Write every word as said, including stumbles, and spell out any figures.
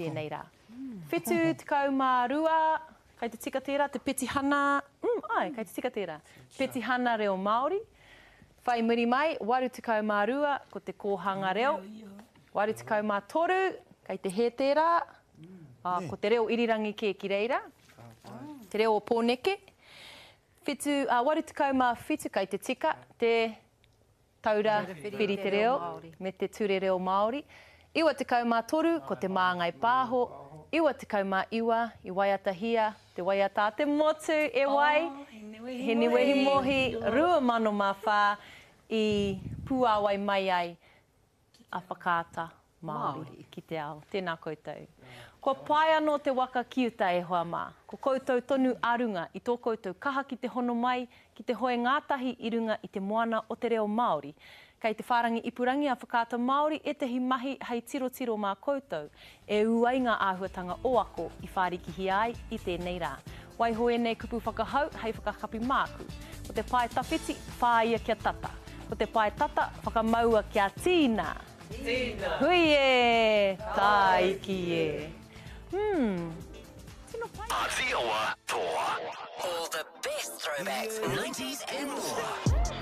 tēnei rā. Whitu tekau mā rua, kei te tika tērā, te petihana, mm, āe, kei te tika tērā, petihana reo Māori. Whai muri mai, waru tekau mā rua, ko te kōhanga reo. Waru tekau mā toru, kei te hē tērā, ā, ko te reo irirangi kē ki reira, te reo o Pōneke. Whitu, ā, waru tekau mā whitu, kei te tika, te Taura Whiri Te Reo me te Ture Reo Māori. Iwa tekau mā toru, ko Te Māngai Pāho. Iwa tekau mā iwa, i waiatahia te waiata a te motu, e wai? Hiniwehi Mohi, rua mano mā whā, i puāwai mai ai a Whakaata Māori ki te ao. Tēnā koutou. Kua pae anō te waka ki uta e hoa mā. Ko koutou tonu a runga i tō koutou kaha ki te hono mai, ki te hoe ngātahi i runga i te moana o te reo Māori. Kei te whārangi ipurangi a Whakaata Māori ētahi mahi hei tirotiro mā koutou e ū ai ngā āhuatanga o ako i whārikihia ai i tēnei rā. Waiho ēnei kupu whakahau hei whakakapi māku. Ko te pae tawhiti, whāia kia tata. Ko te pae tata, whakamaua kia tīna! Tīna! Hui e! Tāiki e! Hmm. Tino pai. Āti Awa Toa. All the best throwbacks, nineties and more.